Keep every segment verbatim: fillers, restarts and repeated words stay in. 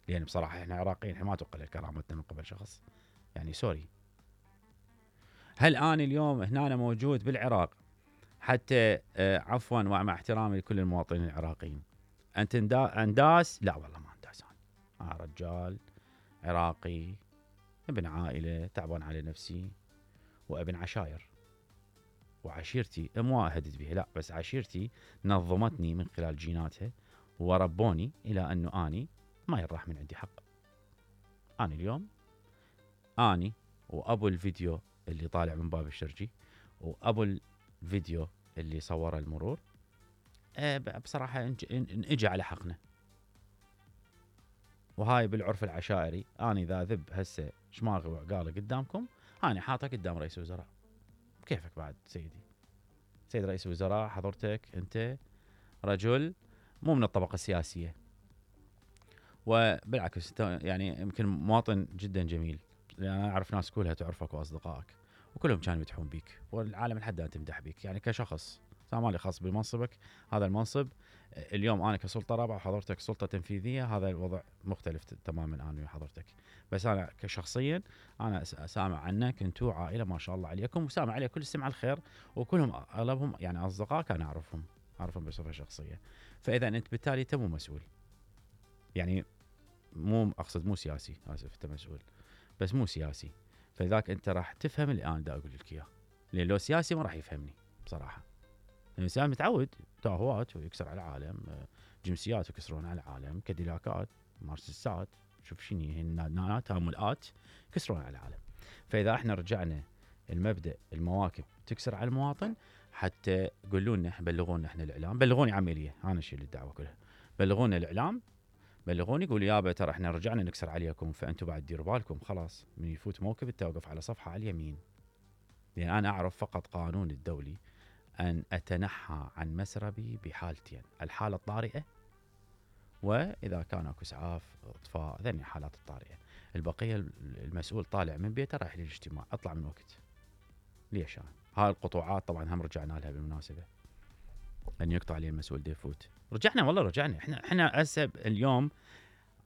لان بصراحه احنا عراقيين، احنا ما تقلل كرامتنا من قبل شخص، يعني سوري. هل انا اليوم هنا أنا موجود بالعراق حتى آه عفوا ومع احترامي لكل المواطنين العراقيين، انت انداس؟ لا والله ما انداس. انا آه رجال عراقي ابن عائله تعبان على نفسي وابن عشاير، وعشيرتي مو اهدد بها لا، بس عشيرتي نظمتني من خلال جيناتها وربوني الى انه اني ما يراح من عندي حق. انا اليوم اني وابو الفيديو اللي طالع من باب الشرجي وابو الفيديو اللي صوره المرور أه بصراحه نجي على حقنا. وهاي بالعرف العشائري، انا اذا ذب هسه شماغي وعقالي قدامكم انا حاطه قدام رئيس الوزراء. كيفك بعد سيدي؟ سيد رئيس الوزراء حضرتك انت رجل مو من الطبقه السياسيه، وبالعكس يعني يمكن مواطن جدا جميل، لان انا اعرف ناس كلها تعرفك واصدقائك وكلهم كانوا يمدحون بيك، والعالم لحد الان تمدح بيك يعني كشخص. ما لي خاص بمنصبك، هذا المنصب اليوم انا كسلطه رابعه وحضرتك سلطه تنفيذيه، هذا الوضع مختلف تماما انا وحضرتك. بس انا كشخصيا انا سامع عنك انتم عائله ما شاء الله عليكم، وسامع عليه كل السمع الخير، وكلهم اغلبهم يعني اصدقاء كان اعرفهم اعرفهم بصفه شخصيه. فاذا انت بالتالي انت مو مسؤول، يعني مو اقصد مو سياسي، اسف انت مسؤول بس مو سياسي، فلذلك انت راح تفهم اللي انا دا اقول لك اياه، لان لو سياسي ما راح يفهمني بصراحه. الانسان متعود تاهوات ويكسر على العالم، جنسيات يكسرون على العالم، كاديلاكات، مرسيدسات، شوف شنو هي النانات هامولات يكسرون على العالم. فاذا احنا رجعنا المبدا المواكب تكسر على المواطن، حتى قولوا لنا بلغونا احنا الاعلام، بلغوني عمليه انا اشيل الدعوه كلها، بلغونا الاعلام، بلغوني قولوا يابا ترى احنا رجعنا نكسر عليكم، فانتم بعد ديروا بالكم خلاص من يفوت موكب توقف على صفحه على اليمين. لان انا اعرف فقط قانون الدولي أن أتنحى عن مسربي بحالتين، الحالة الطارئة وإذا كان أكو إسعاف إطفاء، ذني حالات الطارئة. البقية المسؤول طالع من بيته رايح للاجتماع، أطلع من وقت. ليش أنا؟ هاي القطوعات طبعا هم رجعنا لها بالمناسبة، أن يقطع لي المسؤول دي يفوت. رجعنا والله رجعنا، إحنا إحنا هسه اليوم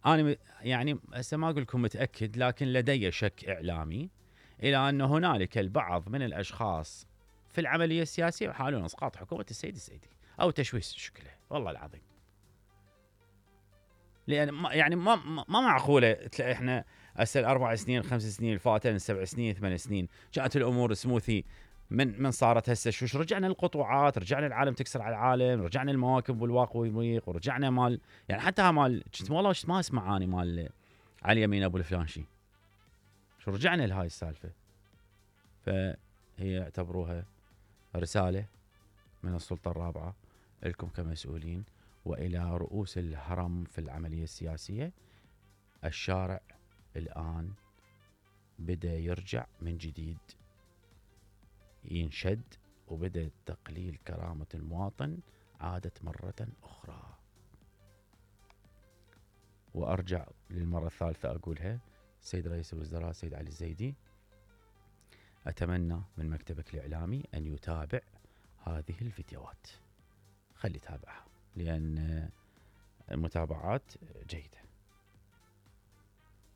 أنا يعني هسه ما أقول لكم متأكد، لكن لدي شك إعلامي إلى أن هنالك البعض من الأشخاص في العملية السياسية يحاولون اسقاط حكومة السيد السيدي او تشويش شكله، والله العظيم. لان ما يعني ما ما معقوله تلاقي احنا هسه الاربع سنين خمس سنين الفاتن سبع سنين ثمان سنين كانت الامور سموثي، من من صارت هسه شوش رجعنا للقطوعات، رجعنا العالم تكسر على العالم، رجعنا المواكب والواق والمريق، ورجعنا مال يعني حتى مال والله ما اسمع اني مال علي يمين ابو الفلانشي، شو رجعنا لهاي السالفه. فهي يعتبروها رسالة من السلطة الرابعة لكم كمسؤولين وإلى رؤوس الهرم في العملية السياسية. الشارع الآن بدأ يرجع من جديد ينشد، وبدأ تقليل كرامة المواطن عادت مرة أخرى. وأرجع للمرة الثالثة أقولها، سيد رئيس الوزراء سيد علي الزيدي، أتمنى من مكتبك الإعلامي أن يتابع هذه الفيديوهات، خلي يتابعها لأن المتابعات جيدة.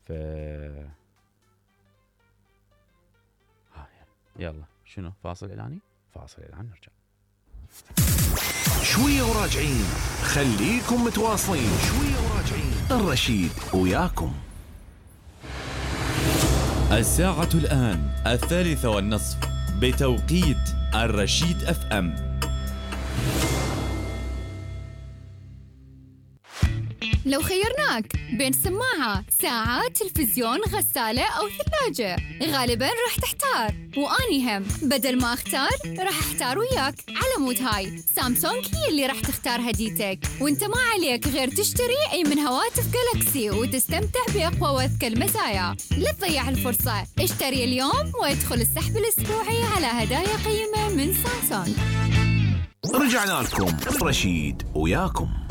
ف يلا شنو فاصل إعلاني؟ فاصل إعلان نرجع. شوية وراجعين، خليكم متواصلين. شوية وراجعين، الرشيد وياكم. الساعة الآن الثالثة والنصف بتوقيت الرشيد اف ام. لو خيرناك بين سماعة، ساعة، تلفزيون، غسالة أو ثلاجة، غالباً راح تحتار، وأني هم بدل ما أختار راح أحتار وياك. على مود هاي سامسونج هي اللي راح تختار هديتك، وانت ما عليك غير تشتري أي من هواتف جالكسي وتستمتع بأقوى وأذكى المزايا. لا تضيع الفرصة، اشتري اليوم وادخل السحب الأسبوعي على هدايا قيمة من سامسونج. رجعنا لكم، رشيد وياكم.